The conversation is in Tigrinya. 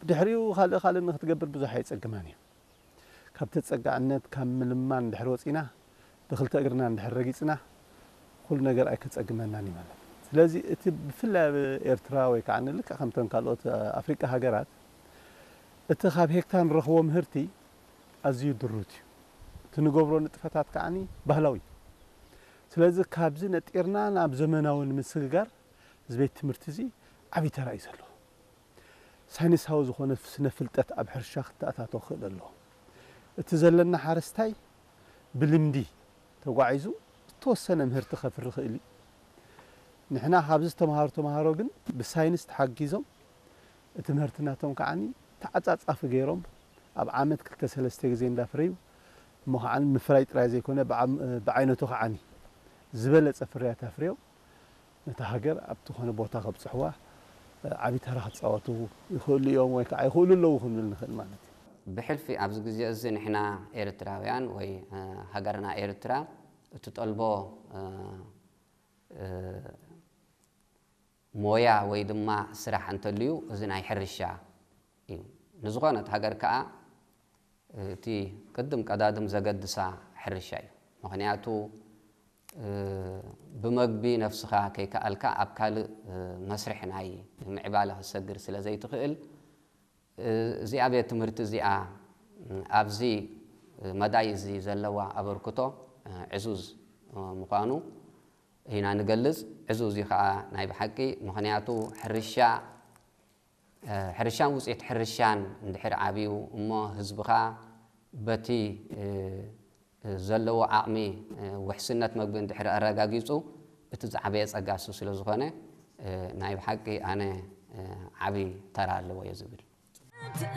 ድሕሪኡ ካልእ ካልእ ንክትገብር ብዙሕ ኣይጸግማን እዩ። ካብ ተጸጋዕነት ካብ ምልማን ድሕር ወጺና ብክልተ እግርና እንድሕር ረጊጽና ኩሉ ነገር ኣይከጸግመናን እዩ ማለት እዩ። ስለዚ እቲ ብፍላይ ኣብ ኤርትራ ወይ ከዓ ንልክዕ ከምተን ካልኦት ኣፍሪቃ ሃገራት እቲ ካብ ሄክታር ንረኽቦ ምህርቲ ኣዝዩ ድሩት እዩ። እቲ ንገብሮ ንጥፈታት ከዓኒ ባህላዊ እዩ። ስለዚ ካብዚ ነጢርና ናብ ዘመናዊ ንምስግጋር እዚ ቤት ትምህርቲ እዚ ዓብዪ ተራ እዩ ዘለዎ። ሳይንሳዊ ዝኾነ ስነ ፍልጠት ኣብ ሕርሻ ክተኣታቶ ክኽእል ኣለዎ። እቲ ዘለና ሓረስታይ ብልምዲ ተጓዒዙ ዝተወሰነ ምህርቲ ከፍሪ ክእል እዩ። ንሕና ካብዚ ዝተምሃሩ ተምሃሮ ግን ብሳይንስ ተሓጊዞም እቲ ምህርቲ ናቶም ከዓኒ ተዓጻጻፊ ገይሮም ኣብ ዓመት ክልተ ሰለስተ ግዜ እንዳፍረዩ እሞ ከዓኒ ምፍራይ ጥራይ ዘይኮነ ብዓይነቱ ከዓኒ ዝበለጸ ፍርያት ኣፍርዮም ነታ ሃገር ኣብ ዝኾነ ቦታ ከብጽሕዋ ዓቢ ተራ ክጻወቱ ይኽእሉ እዮም ወይ ከዓ ይኽእሉ ኣለዉ ክንብል ንኽእል ማለት እዩ። ብሕልፊ ኣብዚ ግዜ እዚ ንሕና ኤርትራውያን ወይ ሃገርና ኤርትራ እትጠልቦ ሞያ ወይ ድማ ስራሕ እንተልዩ እዚ ናይ ሕርሻ እዩ። ንዝኾነት ሃገር ከዓ እቲ ቅድም ቀዳድም ዘገድሳ ሕርሻ እዩ። ምኽንያቱ ብመግቢ ነፍስኻ ከይከኣልካ ኣብ ካልእ መስርሕ ናይ ምዕባለ ክትሰግር ስለ ዘይትኽእል እዚኣ ቤት ትምህርቲ እዚኣ ኣብዚ መዳይ እዚ ዘለዋ ኣበርክቶ ዕዙዝ ምዃኑ ኢና ንገልጽ። ዕዙዝ እዩ ከዓ ናይ ብሓቂ፣ ምኽንያቱ ሕርሻ ሕርሻን ውፅኢት ሕርሻን እንድሕር ዓብዩ እሞ ህዝብኻ በቲ ዘለዎ ዓቕሚ ውሕስነት መግቢ እንድሕር ኣረጋጊፁ እቲ ዝዓበየ ፀጋ እሱ ስለ ዝኾነ ናይ ብሓቂ ኣነ ዓብዪ ተራ ኣለዎ እየ ዝብል።